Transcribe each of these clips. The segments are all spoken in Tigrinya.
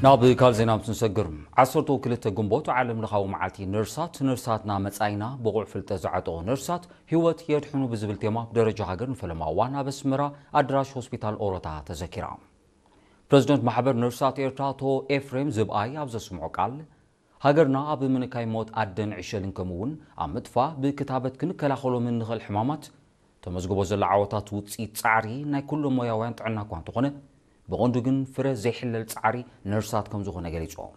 ናብ ካልእ ዜና ምስ ንሰግር፣ ዓሰርተ ክልተ ግንቦት ዓለም ለኻዊ መዓልቲ ነርሳት፣ ነርሳትና መጻኢና፣ ብቑዕ ፍልጠት ዝዓጠቑ ነርሳት ህይወት የድሕኑ ብዝብል ቴማ ብደረጃ ሃገር ንፈለማ እዋን ኣብ ኣስመራ ኣዳራሽ ሆስፒታል ኦሮታ ተዘኪራ። ፕረዚደንት ማሕበር ነርሳት ኤርትራ ኣቶ ኤፍሬም ዝብኣይ ኣብ ዘስምዖ ቃል፣ ሃገርና ኣብ ምንካይ ሞት ኣደን ዕሸልን ከምኡ እውን ኣብ ምጥፋእ ብክታበት ክንከላኸሎም እንኽእል ሕማማት ተመዝግቦ ዘላ ዓወታት ውፅኢት ፃዕሪ ናይ ኩሎም ሞያውያን ጥዕና እኳ እንተኾነ፣ ብቐንዱ ግን ፍረ ዘይሕለል ፃዕሪ ነርሳት ከም ዝኾነ ገሊጾም።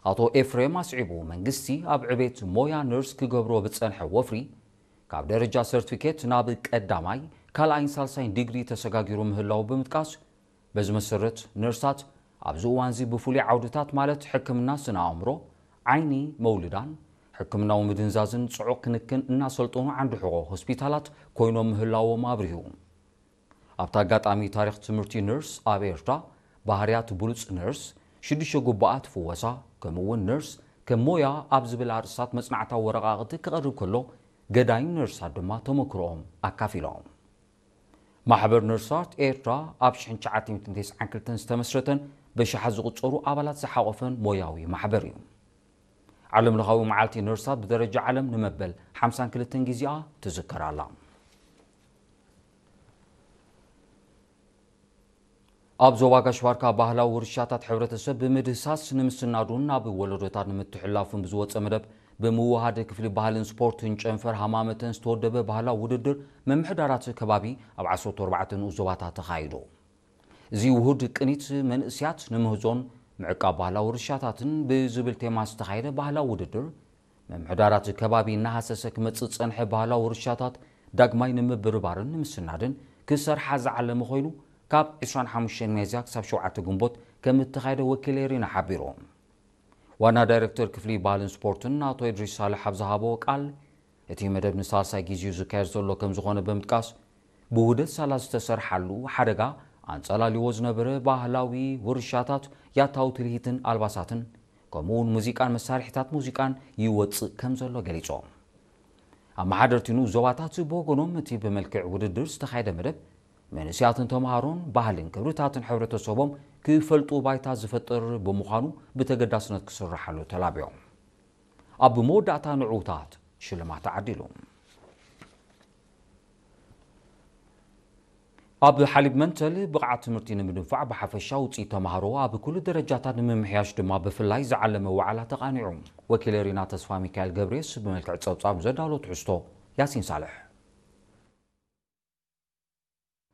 ኣቶ ኤፍሬም ኣስዒቡ፣ መንግስቲ ኣብ ዕቤት ሞያ ነርስ ክገብሮ ብፀንሐ ወፍሪ ካብ ደረጃ ሰርቲፊኬት ናብ ቀዳማይ፣ ካልኣይን ሳልሳይን ዲግሪ ተሰጋጊሩ ምህላው ብምጥቃስ፣ በዚ መሰረት ነርሳት ኣብዚ እዋን እዚ ብፍሉይ ዓውድታት ማለት ሕክምና ስነ ኣእምሮ፣ ዓይኒ፣ መውልዳን ሕክምናዊ ምድንዛዝን ጽዑቕ ክንክን እናሰልጠኑ ዓንዲ ሕቖ ሆስፒታላት ኮይኖም ምህላዎም ኣብሪሁ። ኣብቲ ኣጋጣሚ ታሪኽ ትምህርቲ ነርስ ኣብ ኤርትራ፣ ባህርያት ብሉጽ ነርስ፣ ሽዱሽተ ጉባኣት ፍወሳ፣ ከምኡ እውን ነርስ ከም ሞያ ኣብ ዝብል ኣርእስታት መጽናዕታዊ ወረቓቕቲ ክቐርብ ከሎ፣ ገዳይም ነርሳት ድማ ተመክሮኦም ኣካፊሎም። ማሕበር ነርሳት ኤርትራ ኣብ ሽሕን ትሽዓተ ሚእትን ተስዓን ክልተን ዝተመስረተን በሽሓት ዝቑጸሩ ኣባላት ዝሓቖፈን ሞያዊ ማሕበር እዩ። ዓለም ለኻዊ መዓልቲ ነርሳት ብደረጃ ዓለም ንመበል ሓምሳን ክልተን ግዜኣ ትዝከር ኣላ። ኣብ ዞባ ጋሽ ባርካ ባህላዊ ውርሻታት ሕብረተሰብ ብምድህሳስ ንምስናዱን ናብ ወለዶታት ንምትሕላፉን ብዝወፀ መደብ ብምውሃድ ክፍሊ ባህልን ስፖርትን ጨንፈር ሃማመተን ዝተወደበ ባህላዊ ውድድር ምምሕዳራት ከባቢ ኣብ ዓሰርተ ኣርባዕተ ንኡስ ዞባታት ተኻይዱ። እዚ ውሁድ ቅኒት መንእስያት ንምህዞን ምዕቃብ ባህላዊ ውርሻታትን ብዝብል ቴማ ዝተኻየደ ባህላዊ ውድድር ምምሕዳራት ከባቢ እናሃሰሰ ክመጽእ ዝጸንሐ ባህላዊ ውርሻታት ዳግማይ ንምብርባርን ንምስናድን ክሰርሓ ዝዓለመ ኮይኑ፣ ካብ ዕስራን ሓሙሽተን ሚያዝያ ክሳብ ሸውዓተ ግንቦት ከም እተኻየደ ወኪል ኤሪና ሓቢሩ። ዋና ዳይሬክተር ክፍሊ ባህልን ስፖርትን ኣቶ ኢድሪስ ሳልሕ ኣብ ዝሃቦ ቃል፣ እቲ መደብ ንሳልሳይ ግዜኡ ዝካየድ ዘሎ ከም ዝኾነ ብምጥቃስ፣ ብውህደት ሳላ ዝተሰርሓሉ ሓደጋ ኣንጸላልዎ ዝነበረ ባህላዊ ውርሻታት፣ ያታዊ ትልሂትን ኣልባሳትን፣ ከምኡውን ሙዚቃን መሳርሒታት ሙዚቃን ይወጽእ ከም ዘሎ ገሊጾም። ኣመሓደርቲ ንኡስ ዞባታት ብወገኖም፣ እቲ ብመልክዕ ውድድር ዝተኻየደ መደብ፣ መንእስያትን ተምሃሮን ባህልን ክብርታትን ሕብረተሰቦም ክፈልጡ ባይታ ዝፈጥር ብምዃኑ ብተገዳስነት ክስርሓሉ ተላቢዮም። ኣብ መወዳእታ ንዕዉታት ሽልማት ተዓዲሉ። ኣብ ሓሊብ መንተል ብቕዓት ትምህርቲ ንምድንፋዕ ብሓፈሻ ውፅኢት ተምሃሮ ኣብ ኩሉ ደረጃታት ንምምሕያሽ ድማ ብፍላይ ዝዓለመ ዋዕላ ተቓኒዑ። ወኪል ሪና ተስፋ ሚካኤል ገብሬስ ብመልክዕ ፀብፃብ ዘዳሎ ትሕዝቶ ያሲን ሳልሕ።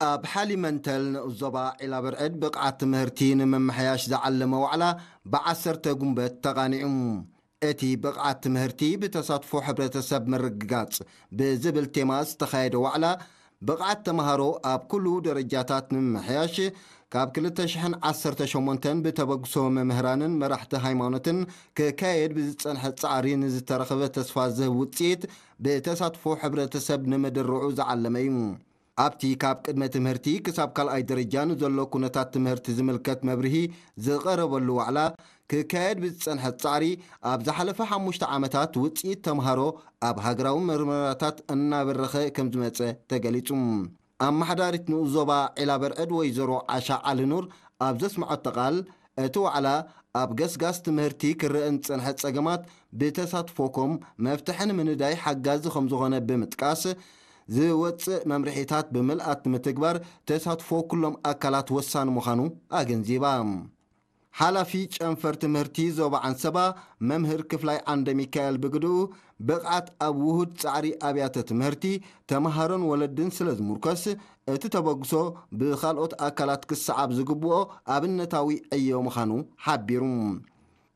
ኣብ ሓሊብ መንተል ንኡስ ዞባ ዒላ ብርዕድ ብቕዓት ትምህርቲ ንምምሕያሽ ዝዓለመ ዋዕላ ብዓሰርተ ጉንበት ተቓኒዑ። እቲ ብቕዓት ትምህርቲ ብተሳትፎ ሕብረተሰብ ምርግጋጽ ብዝብል ቴማ ዝተኻየደ ዋዕላ፣ ብቕዓት ተምሃሮ ኣብ ኩሉ ደረጃታት ንምምሕያሽ፣ ካብ ክልተ ሽሕን ዓሰርተ ሸሞንተን ብተበግሶ መምህራንን መራሕቲ ሃይማኖትን ክካየድ ብዝጸንሐ ጻዕሪ ንዝተረኽበ ተስፋ ዝህብ ውጽኢት ብተሳትፎ ሕብረተሰብ ንምድርዑ ዝዓለመ እዩ። ኣብቲ ካብ ቅድመ ትምህርቲ ክሳብ ካልኣይ ደረጃ ንዘሎ ኩነታት ትምህርቲ ዝምልከት መብርሂ ዝቐረበሉ ዋዕላ፣ ክካየድ ብዝጸንሐ ጻዕሪ፣ ኣብ ዝሓለፈ ሓሙሽተ ዓመታት ውጽኢት ተምሃሮ ኣብ ሃገራዊ መርመራታት እናበረኸ ከም ዝመጸ ተገሊጹ። ኣመሓዳሪት ንኡስ ዞባ ዒላ በርዕድ ወይዘሮ ዓሻ ዓሊ ኑር ኣብ ዘስምዐቶ ቃል፣ እቲ ዋዕላ ኣብ ገስጋስ ትምህርቲ ክረአ ንዝጸንሐ ጸገማት ብተሳትፎኩም መፍትሒ ንምንዳይ ሓጋዚ ከም ዝኾነ ብምጥቃስ፣ ዝወጽእ መምርሒታት ብምልኣት ንምትግባር ተሳትፎ ኩሎም ኣካላት ወሳኒ ምዃኑ ኣገንዚባ። ሓላፊ ጨንፈር ትምህርቲ ዞባ ዓንሰባ መምህር ክፍላይ ዓንደ ሚካኤል ብግድኡ፣ ብቕዓት ኣብ ውሁድ ጻዕሪ ኣብያተ ትምህርቲ፣ ተምሃሮን ወለድን ስለ ዝምርኮስ፣ እቲ ተበግሶ ብኻልኦት ኣካላት ክሰዓብ ዝግብኦ ኣብነታዊ ዕዮ ምዃኑ ሓቢሩ።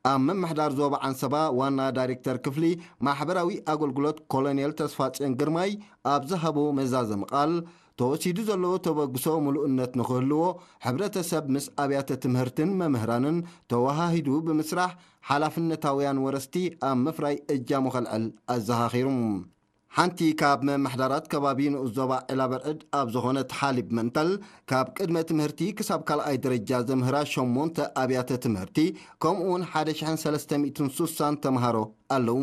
ኣብ ምምሕዳር ዞባ ዓንሰባ ዋና ዳይሬክተር ክፍሊ ማሕበራዊ ኣገልግሎት ኮሎኔል ተስፋጽዮን ግርማይ ኣብ ዝሃቦ መዛዘሚ ቃል፣ ተወሲዱ ዘሎ ተበግሶ ምሉእነት ንኽህልዎ፣ ሕብረተሰብ ምስ ኣብያተ ትምህርትን መምህራንን ተወሃሂዱ ብምስራሕ፣ ሓላፍነታውያን ወረስቲ ኣብ ምፍራይ እጃሙ ከልዕል ኣዘኻኺሩ። ሓንቲ ካብ መምሕዳራት ከባቢ ንኡስ ዞባ ዒላ በርዕድ ኣብ ዝኾነት ሓሊብ መንተል፣ ካብ ቅድመ ትምህርቲ ክሳብ ካልኣይ ደረጃ ዘምህራ ሸሞንተ ኣብያተ ትምህርቲ፣ ከምኡውን ሓደ ሽሕን ሰለስተ ሚእትን ስሳን ተምሃሮ ኣለዉ።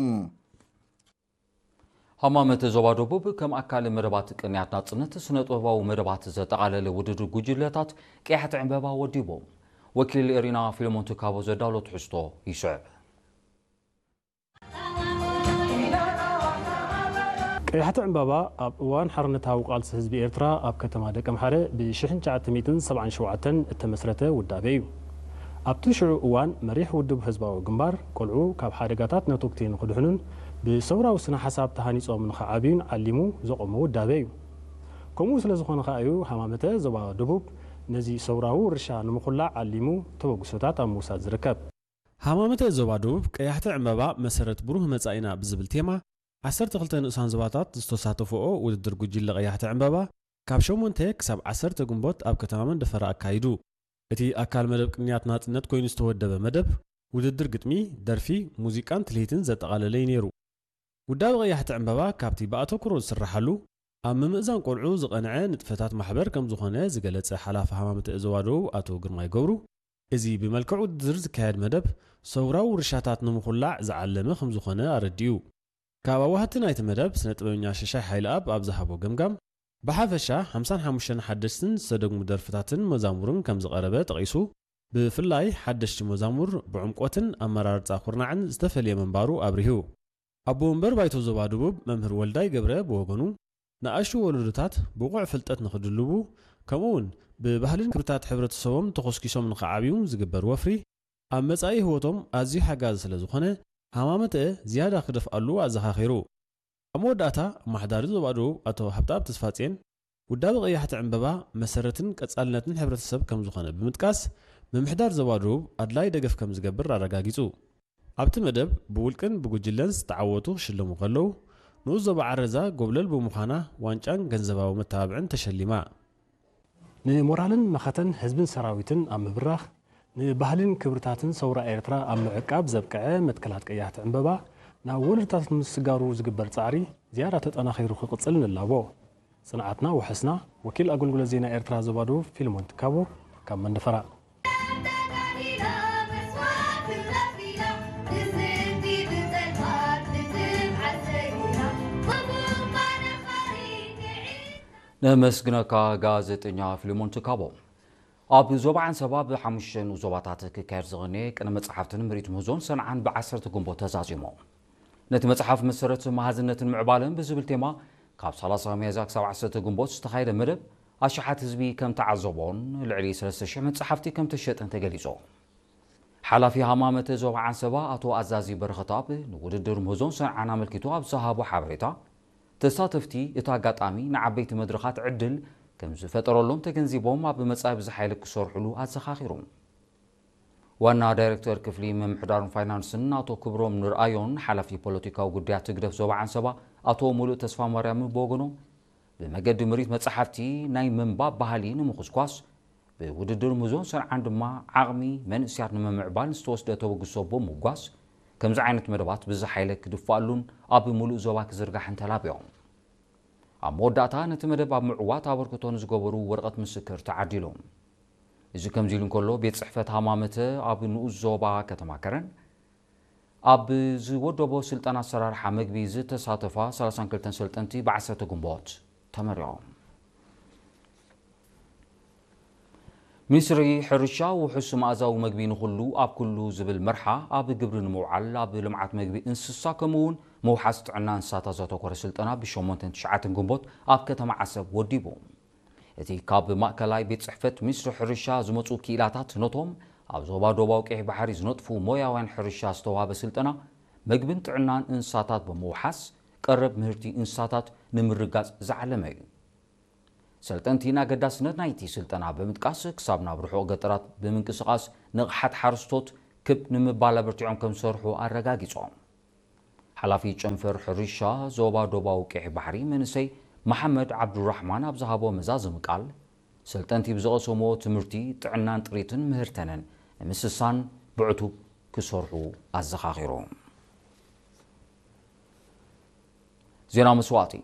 ሃማመተ ዞባ ደቡብ ከም ኣካል መደባት ቅንያት ናጽነት ስነ ጥበባዊ መደባት ዘጠቓለለ ውድድር ጉጅለታት ቀያሕቲ ዕምበባ ወዲቦም። ወኪል ኤሪና ፊልሞን ትካቦ ዘዳሎ ትሕዝቶ ይስዕብ። ቀያሕቲ ዕምባባ ኣብ እዋን ሓርነታዊ ቃልሲ ህዝቢ ኤርትራ ኣብ ከተማ ደቀምሓረ ብ ሽሕን ትሽዓተ ሚእትን ሰብዓን ሸውዓተን እተመስረተ ውዳበ እዩ። ኣብቲ ሽዑ እዋን መሪሕ ውድብ ህዝባዊ ግንባር፣ ቆልዑ ካብ ሓደጋታት ነተጉቲ ንኽድሕኑን ብሰውራዊ ስነ ሓሳብ ተሃኒጾም ንኽዓብዩን ዓሊሙ ዘቖሞ ውዳበ እዩ። ከምኡ ስለ ዝኾነ ከኣ እዩ ሃማመተ ዞባ ደቡብ ነዚ ሰውራዊ ውርሻ ንምኹላዕ ዓሊሙ ተበግሶታት ኣብ ምውሳድ ዝርከብ። ሃማመተ ዞባ ደቡብ ቀያሕቲ ዕምባባ መሰረት ብሩህ መጻኢና ብዝብል ቴማ ዓሰርተ ክልተ ንኡሳን ዞባታት ዝተሳተፍኦ ውድድር ጉጅለ ቀያሕቲ ዕምባባ ካብ ሸሞንተ ክሳብ ዓሰርተ ግንቦት ኣብ ከተማ መንደፈራ ኣካይዱ። እቲ ኣካል መደብ ቅንያት ናጽነት ኮይኑ ዝተወደበ መደብ፣ ውድድር ግጥሚ፣ ደርፊ፣ ሙዚቃን ትልሂትን ዘጠቓለለ እዩ ነይሩ። ውዳበ ቀያሕቲ ዕምባባ ካብቲ ብኣተኩሮ ዝስራሓሉ ኣብ ምምእዛን ቆልዑ ዝቐንዐ ንጥፈታት ማሕበር ከም ዝኾነ ዝገለጸ ሓላፊ ሃማመተ ዞባ ደቡብ ኣቶ ግርማይ ገብሩ፣ እዚ ብመልክዕ ውድድር ዝካየድ መደብ ሰውራዊ ውርሻታት ንምኹላዕ ዝዓለመ ከም ዝኾነ ኣረዲኡ። ካብ ኣዋህቲ ናይቲ መደብ ስነ ጥበበኛ ሽሻይ ሓይለኣብ ኣብ ዝሃቦ ገምጋም፣ ብሓፈሻ ሓምሳን ሓሙሽተን ሓደሽትን ዝተደግሙ ደርፍታትን መዛሙርን ከም ዝቐረበ ጠቒሱ፣ ብፍላይ ሓደሽቲ መዛሙር ብዕምቆትን ኣመራርጻ ኩርናዕን ዝተፈልየ ምንባሩ ኣብሪሁ። ኣቦ ወንበር ባይቶ ዞባ ደቡብ መምህር ወልዳይ ገብረ ብወገኑ፣ ንኣሽቱ ወለዶታት ብቑዕ ፍልጠት ንኽድልቡ፣ ከምኡ'ውን ብባህልን ክብርታት ሕብረተሰቦም ተኾስኪሶም ንኽዓብዩ ዝግበር ወፍሪ፣ ኣብ መጻኢ ህይወቶም ኣዝዩ ሓጋዚ ስለ ዝኾነ፣ ሃማመተ ዝያዳ ክደፍኣሉ ኣዘኻኺሩ። ኣብ መወዳእታ፣ ኣመሓዳሪ ዞባ ደቡብ ኣቶ ሃብተኣብ ተስፋጽዮን፣ ውዳበ ቀያሕቲ ዕምበባ መሰረትን ቀጻልነትን ሕብረተሰብ ከም ዝኾነ ብምጥቃስ፣ ምምሕዳር ዞባ ደቡብ ኣድላዪ ደገፍ ከም ዝገብር ኣረጋጊጹ። ኣብቲ መደብ፣ ብውልቅን ብጉጅለን ዝተዓወቱ ክሽለሙ ከለዉ፣ ንኡስ ዞባ ዓረዛ ጎብለል ብምዃና ዋንጫን ገንዘባዊ መተባብዕን ተሸሊማ። ንሞራልን መኸተን ህዝብን ሰራዊትን ኣብ ምብራኽ፣ ንባህልን ክብርታትን ሰውራ ኤርትራ ኣብ ምዕቃብ ዘብቅዐ መትከላት ቀያሕቲ ዕምበባ ናብ ወለዶታት ንምስጋሩ ዝግበር ጻዕሪ ዝያዳ ተጠናኺሩ ክቕጽል ንላቦ። ጽንዓትና ውሕስና። ወኪል ኣገልግሎት ዜና ኤርትራ ዞባ ደቡብ ፊልሞን ትካቦ ካብ መንደፈራ። ነመስግነካ ጋዜጠኛ ፊልሞን ትካቦ። ኣብ ዞባ ዓንሰባ ብሓሙሽተ ንኡስ ዞባታት ክካየድ ዝቐነየ ቅነ መጽሓፍትን ምርኢት ምህዞን ሰንዓን ብዓሰርተ ግንቦት ተዛዚሙ። ነቲ መጽሓፍ መሰረት መሃዝነትን ምዕባለን ብዝብል ቴማ ካብ ሰላሳ ሚያዝያ ክሳብ ዓሰርተ ግንቦት ዝተኻየደ መደብ ኣሽሓት ህዝቢ ከም ተዓዘቦን ልዕሊ ሰለስተ ሽሕ መጽሓፍቲ ከም ተሸጠን ተገሊጹ። ሓላፊ ሃማመተ ዞባ ዓንሰባ ኣቶ ኣዛዚ በረኸትኣብ ንውድድር ምህዞን ሰንዓን ኣመልኪቱ ኣብ ዝሃቦ ሓበሬታ፣ ተሳተፍቲ እቲ ኣጋጣሚ ንዓበይቲ መድረኻት ዕድል ከም ዝፈጠረሎም ተገንዚቦም ኣብ መጻኢ ብዝሓ ኢለ ክሰርሕሉ ኣዘኻኺሩ። ዋና ዳይሬክተር ክፍሊ ምምሕዳርን ፋይናንስን ኣቶ ክብሮም ንርኣዮን ሓላፊ ፖለቲካዊ ጉዳያት ህግደፍ ዞባ ዓንሰባ ኣቶ ሙሉእ ተስፋማርያም ብወገኖም፣ ብመገዲ ምርኢት መጻሕፍቲ ናይ ምንባብ ባህሊ ንምኹስኳስ፣ ብውድድር ምህዞን ሰንዓን ድማ ዓቕሚ መንእሰያት ንምምዕባል ዝተወስደ ተበግሶ ብምውጓስ፣ ከምዚ ዓይነት መደባት ብዝሓ ኢለ ክድፋኣሉን ኣብ ምሉእ ዞባ ክዝርጋሕን ተላብዮም። ኣብ መወዳእታ ነቲ መደብ ኣብ ምዕዋት ኣበርክቶ ንዝገበሩ ወረቐት ምስክር ተዓዲሉ። እዚ ከምዚ ኢሉ እንከሎ፣ ቤት ጽሕፈት ሃማመተ ኣብ ንኡስ ዞባ ከተማ ከረን ኣብ ዝወደቦ ስልጠና ኣሰራርሓ መግቢ ዝተሳተፋ ሰላሳን ክልተን ሰልጠንቲ ብዓሰርተ ግንቦት ተመሪቖም። ሚኒስትሪ ሕርሻ ውሑስ መኣዛዊ መግቢ ንኹሉ ኣብ ኩሉ ዝብል መርሓ ኣብ ግብሪ ንምውዓል ኣብ ልምዓት መግቢ እንስሳ ከምኡ እውን ምውሓስ ጥዕና እንስሳታት ዘተኮረ ስልጠና ብሸሞንተን ትሽዓተን ግንቦት ኣብ ከተማ ዓሰብ ወዲቡ። እቲ ካብ ማእከላይ ቤት ጽሕፈት ሚኒስትሪ ሕርሻ ዝመጹ ክኢላታት ነቶም ኣብ ዞባ ዶባዊ ቀይሕ ባሕሪ ዝነጥፉ ሞያውያን ሕርሻ ዝተዋህበ ስልጠና መግብን ጥዕናን እንስሳታት ብምውሓስ ቀረብ ምህርቲ እንስሳታት ንምርጋጽ ዝዓለመ እዩ። ሰልጠንቲ ንኣገዳስነት ናይቲ ስልጠና ብምጥቃስ፣ ክሳብ ናብ ርሑቕ ገጠራት ብምንቅስቓስ ንቕሓት ሓረስቶት ክብ ንምባል ኣበርቲዖም ከም ዝሰርሑ ኣረጋጊጾም። ሓላፊ ጨንፈር ሕርሻ ዞባ ዶባዊ ቀይሕ ባሕሪ መንእሰይ መሓመድ ዓብዱራሕማን ኣብ ዝሃቦ መዛዘሚ ቃል፣ ሰልጠንቲ ብዝቐሰምዎ ትምህርቲ ጥዕናን ጥሪትን ምህርተንን ንምስሳን ብዕቱብ ክሰርሑ ኣዘኻኺሩ። ዜና መስዋእቲ።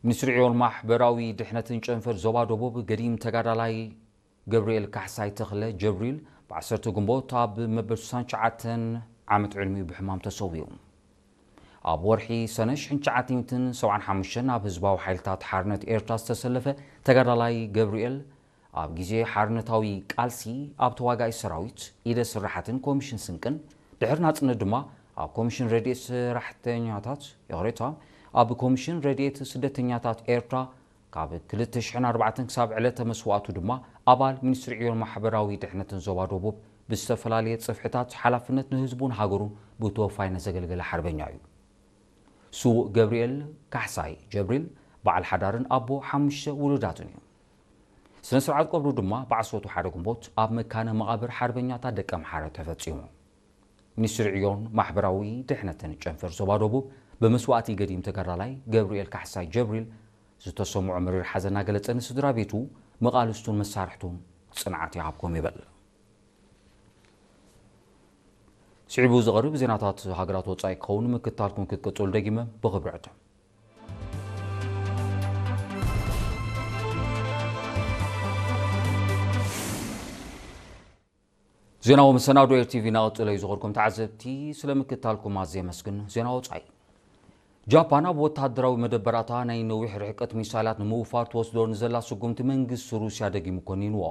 ሚኒስትሪ ዕዮን ማሕበራዊ ድሕነትን ጨንፈር ዞባ ደቡብ ገዲም ተጋዳላይ ገብርኤል ካሕሳይ ተኽለ ጀብሪል ብዓሰርተ ግንቦት ኣብ መበል ስሳን ትሽዓተን ዓመት ዕድሚኡ ብሕማም ተሰዊኡ። ኣብ ወርሒ ሰነ ሽሕን ትሽዓተ ሚእትን ሰብዓን ሓሙሽተን ኣብ ህዝባዊ ሓይልታት ሓርነት ኤርትራ ዝተሰለፈ ተጋዳላይ ገብርኤል ኣብ ግዜ ሓርነታዊ ቃልሲ ኣብ ተዋጋኢ ሰራዊት፣ ኢደ ስራሓትን ኮሚሽን ስንቅን፣ ድሕሪ ናጽነት ድማ ኣብ ኮሚሽን ረድኤት ሰራሕተኛታት፣ ይቕሬታ፣ ኣብ ኮሚሽን ረድኤት ስደተኛታት ኤርትራ ካብ ክልተ ሽሕን ኣርባዕተን ክሳብ ዕለተ መስዋእቱ ድማ ኣባል ሚኒስትሪ ዕዮን ማሕበራዊ ድሕነትን ዞባ ደቡብ ብዝተፈላለየ ጽፍሕታት ሓላፍነት ንህዝቡን ሃገሩን ብተወፋይነት ዘገልገለ ሓርበኛ እዩ። ስዉእ ገብርኤል ካሕሳይ ጀብሪል በዓል ሓዳርን ኣቦ ሓሙሽተ ውሉዳትን እዩ። ስነ ስርዓት ቀብሩ ድማ ብዓሰርተ ሓደ ግንቦት ኣብ መካነ መቓብር ሓርበኛታት ደቀምሓረ ተፈጺሙ። ሚኒስትሪ ዕዮን ማሕበራዊ ድሕነትን ጨንፈር ዞባ ደቡብ ብመስዋእቲ ገዲም ተጋዳላይ ገብርኤል ካሕሳይ ጀብሪል ዝተሰምዖ መሪር ሓዘን እናገለጸ ንስድራ ቤቱ፣ መቓልስቱን መሳርሕቱን ጽንዓት ይሃብኩም ይብል። ስዒቡ ዝቐርብ ዜናታት ሃገራት ወጻኢ ክኸውን ምክታልኩም ክትቅጽሉ ደጊመ ብኽብሪ ዕድም። ዜናዊ መሰናዶ ኤር ቲቪ እናቐጸለ እዩ። ዝኸድኩም ተዓዘብቲ ስለ ምክታልኩም ኣዝየ የመስግን። ዜና ወጻኢ። ጃፓን ኣብ ወተሃደራዊ መደበራታ ናይ ነዊሕ ርሕቀት ሚሳይላት ንምውፋር ትወስዶ ንዘላ ስጉምቲ መንግስቲ ሩስያ ደጊሙ ኮኒንዎ።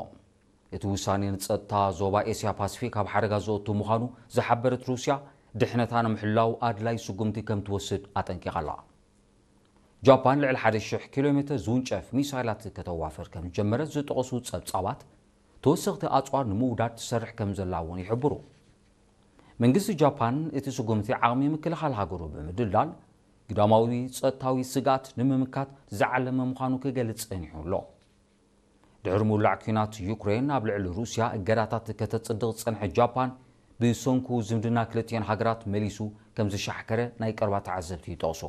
እቲ ውሳኔ ንጸጥታ ዞባ ኤስያ ፓሲፊክ ኣብ ሓደጋ ዘእቱ ምዃኑ ዝሓበረት ሩስያ፣ ድሕነታ ንምሕላው ኣድላይ ስጉምቲ ከም ትወስድ ኣጠንቂቓ ኣላ። ጃፓን ልዕሊ ሓደ ሽሕ ኪሎ ሜተር ዝውንጨፍ ሚሳይላት ከተዋፍር ከም ዝጀመረት ዝጠቐሱ ጸብጻባት፣ ተወሰኽቲ ኣጽዋር ንምውዳድ ትሰርሕ ከም ዘላ እውን ይሕብሩ። መንግስቲ ጃፓን እቲ ስጉምቲ ዓቕሚ ምክልኻል ሃገሩ ብምድልዳል፣ ግዳማዊ ጸጥታዊ ስግኣት ንምምካት ዝዓለመ ምዃኑ ክገልጽ ጸኒሑ ኣሎ። ድሕሪ ምውላዕ ኲናት ዩክሬን ኣብ ልዕሊ ሩስያ እገዳታት ከተጽድቕ ዝጸንሐት ጃፓን፣ ብሰንኩ ዝምድና ክልቲኤን ሃገራት መሊሱ ከም ዝሻሕከረ ናይ ቀረባ ተዓዘብቲ ይጠቕሱ።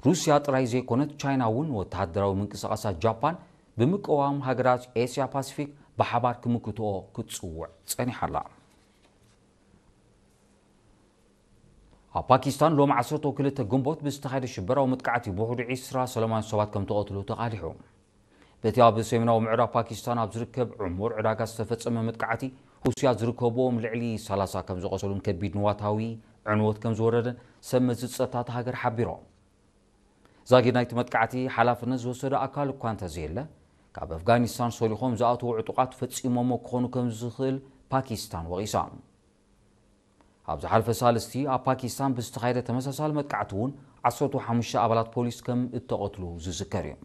ሩስያ ጥራይ ዘይኮነት፣ ቻይና እውን ወተሃደራዊ ምንቅስቓሳት ጃፓን ብምቅዋም፣ ሃገራት ኤስያ ፓሲፊክ ብሓባር ክምክትኦ ክትጽውዕ ጸኒሓ ኣላ። ኣብ ፓኪስታን ሎም ዓሰርተ ክልተ ግንቦት ብዝተኻየደ ሽበራዊ መጥቃዕቲ ብውሕዱ ዒስራ ሰላማውያን ሰባት ከም ተቐትሉ ተቓሊሑ። በቲ ኣብ ሰሜናዊ ምዕራብ ፓኪስታን ኣብ ዝርከብ ዕሙር ዕዳጋ ዝተፈጸመ መጥቃዕቲ፣ ሩስያ ዝርከብዎም ልዕሊ ሰላሳ ከም ዝቖሰሉን ከቢድ ንዋታዊ ዕንወት ከም ዝወረደን ሰብ መዚ ጸጥታ እታ ሃገር ሓቢሮም። ዛጊድ ናይቲ መጥቃዕቲ ሓላፍነት ዝወሰደ ኣካል እኳ እንተዘየለ፣ ካብ ኣፍጋኒስታን ሰሊኾም ዝኣተዉ ዕጡቓት ፈጺሞሞ ክኾኑ ከም ዝኽእል ፓኪስታን ወቒሳ። ኣብ ዝሓለፈ ሳልስቲ ኣብ ፓኪስታን ብዝተኻየደ ተመሳሳሊ መጥቃዕቲ እውን ዓሰርተ ሓሙሽተ ኣባላት ፖሊስ ከም እተቐትሉ ዝዝከር እዩ።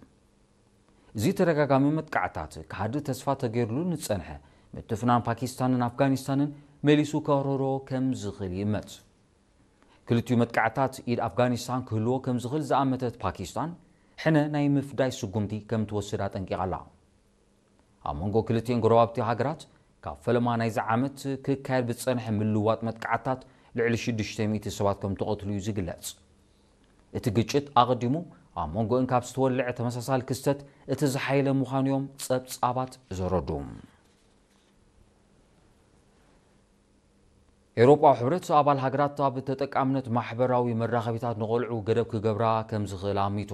እዚ ተደጋጋሚ መጥቃዕታት ክሃድእ ተስፋ ተገይሩሉ ንጸንሐ ምትፍናን ፓኪስታንን ኣፍጋኒስታንን መሊሱ ከህረሮ ከም ዝኽእል ይእመት። ክልቲኡ መጥቃዕታት ኢድ ኣፍጋኒስታን ክህልዎ ከም ዝኽእል ዝኣመተት ፓኪስታን፣ ሕነ ናይ ምፍዳይ ስጉምቲ ከም ትወስድ ኣጠንቂቓ ኣላ። ኣብ መንጎ ክልቲኤን ጎረባብቲ ሃገራት ካብ ፈለማ ናይዚ ዓመት ክካየድ ብዝጸንሐ ምልውዋጥ መጥቃዕታት ልዕሊ ሽዱሽተ ሚእቲ ሰባት ከም ተቐትሉ እዩ ዝግለጽ። እቲ ግጭት ኣቐዲሙ ኣብ መንጎእን ካብ ዝተወልዐ ተመሳሳሊ ክስተት እቲ ዝሓየለ ምዃኑ እዮም ጸብጻባት ዘረድኡ። ኤውሮጳዊ ሕብረት ኣባል ሃገራት ኣብ ተጠቃምነት ማሕበራዊ መራኸቢታት ንቖልዑ ገደብ ክገብራ ከም ዝኽእል ኣሚቱ።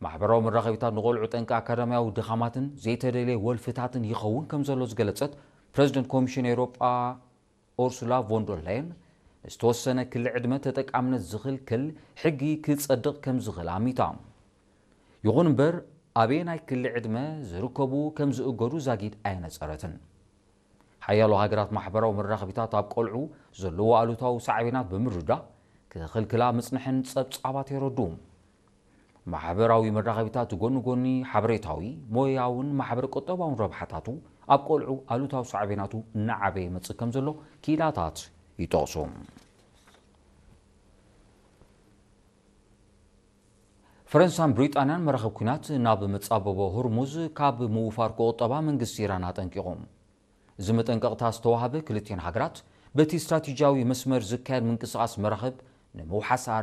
ማሕበራዊ መራኸቢታት ንቖልዑ ጠንቂ ኣካዳሚያዊ ድኻማትን ዘይተደልየ ወልፍታትን ይኸውን ከም ዘሎ ዝገለጸት ፕረዚደንት ኮሚሽን ኤውሮጳ ኡርሱላ ቮንደር ላየን፣ ዝተወሰነ ክሊ ዕድመ ተጠቃምነት ዝኽልክል ሕጊ ክጸድቕ ከም ዝኽእል ኣሚታ። ይኹን እምበር፣ ኣበየናይ ክሊ ዕድመ ዝርከቡ ከም ዝእገዱ ዛጊድ ኣየነጸረትን። ሓያሎ ሃገራት ማሕበራዊ መራኸቢታት ኣብ ቆልዑ ዘለዎ ኣሉታዊ ሳዕቤናት ብምርዳእ ክኽልክላ ምጽንሐን ጸብጻባት የረድኡ። ማሕበራዊ መራኸቢታት ጎኒ ጎኒ ሓበሬታዊ፣ ሞያውን ማሕበረ ቁጠባውን ረብሓታቱ ኣብ ቆልዑ ኣሉታዊ ሳዕቤናቱ እናዓበየ ይመጽእ ከም ዘሎ ክኢላታት ይጠቕሱ። ፈረንሳን ብሪጣንያን መራኸብ ኲናት ናብ መጻበቦ ሆርሙዝ ካብ ምውፋር ክቑጠባ መንግስቲ ኢራን ኣጠንቂቑ። እዚ መጠንቀቕታ ዝተዋህበ ክልቲኤን ሃገራት በቲ ስትራቴጂያዊ መስመር ዝካየድ ምንቅስቓስ መራኸብ ንምውሓስ